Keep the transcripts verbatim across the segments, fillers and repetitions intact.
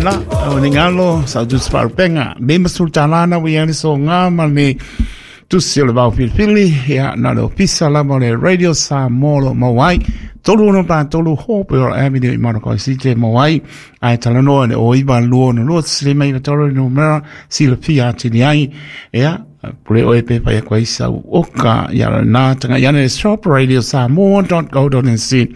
la o ni ngalo sa tu sparpenga me masul talana we ani so nga ma ni tusi o le vao filifili ia na le ofisa lava o le Radio Samoa o lo o maua ai tolu ono pa tolu Hopewell Avenue i Manukau City e maua ai ae talanoa i le o iva lua ono lua tasi lima iva tolu le numera silafia atili ai ia pule oe pe pai aku ai sau oka ia lena taga'i ane le shop radio samoa dot co dot nz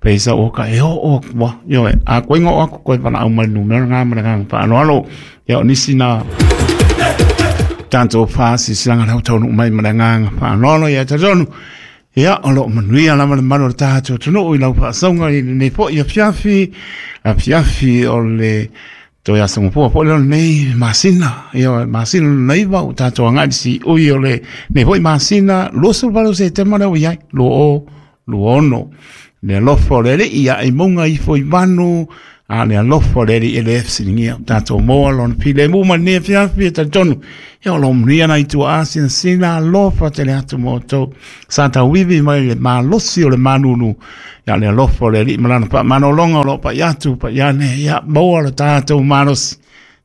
pe sau oka e oo aku a ioe a koe oo aku koe valaau mai le numera lena ma le agaga faaaloalo ia o nisi na tatou faasilasilaga lau taunuu mai ma le agaga faaaloalo ia talitonu ia o loo manuia lava le malu o le tatou atunuu i lau faasauga i lenei foi afiafi afiafi o le toe aso gafua foi lea o lenei masina ia masina lona iva ua tatou agai i le siui o lenei foi masina luasefuluvalu o Setema lea ua i ai lua o lua ono le alofa o le Alii ae i mauga ifo i vanu a le alofa o le Alii e le fesiligia o tatou maua lona filemu ma lenei afiafi e talitonu ia o lo o manuia nai tuaa sinasina alofa tele atu ma outou sa tauivi mai le malosi o le malulu ia le alofa o le Alii ma lana faamalologa o lo o paia atu paia ane ia maua lo tatou malosi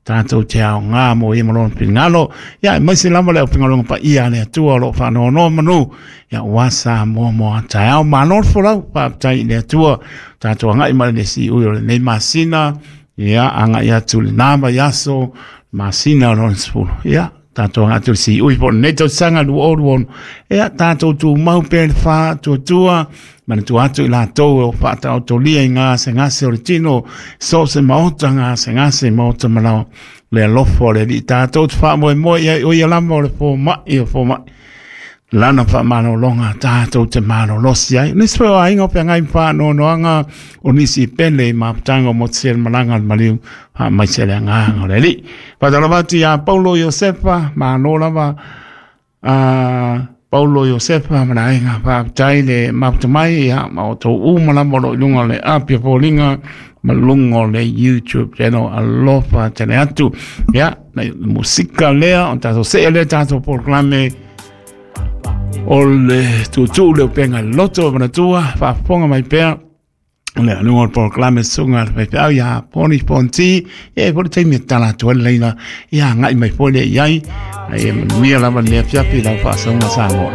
tatou te aoga mo ia ma lona finagalo ia aemaise lava le aufaigaluega paia a le Atua o lo o faanonomanu ia ua Samoa mo a taeao. Malo le folau, faafetai i le Atua tatou agai mai le siui o lenei masina ia agai atu lena vaiaso masina o lona sefulu ia tatou agai atu i le siui po o lenei tausaga lua o lua ono ia tatou tumau pea i le faatuatua manatua atu i latou o faataotolia i gasegase o le tino so o se maota gasegase maota malaoa le alofa o le Alii tatou te faamoemoe i ai o ia lava o le fomai o fomai lana faamalologa tatou te malolosi ai. Nisi foi o aiga o feagai ma faanoanoaga o nisi pele i mafutaga o motusia i le malaga a le maliu faamaise le agaga o le Alii. Faatalofa atu ia Paulo Iosefa, malo lava a Paulo Iosefa ma le aiga, faafetai le mafuta mai ia ma outou uma lava o lo o i luga o le api o foliga ma luga o le YouTube channel. Alofa tele atu. Ia, musika lea, o tatou see lea tatou polokalame o le tuutuu le upega loto o manatua faafofoga mai pea o le aluga o le polokalame susuga a le faifeau ia Poni Fonti ia e foi le taimi e tatala atu ai le laina ia agai mai foi lea i ai ai e manuia lava lenei afiafi i lau faasauga Samoa.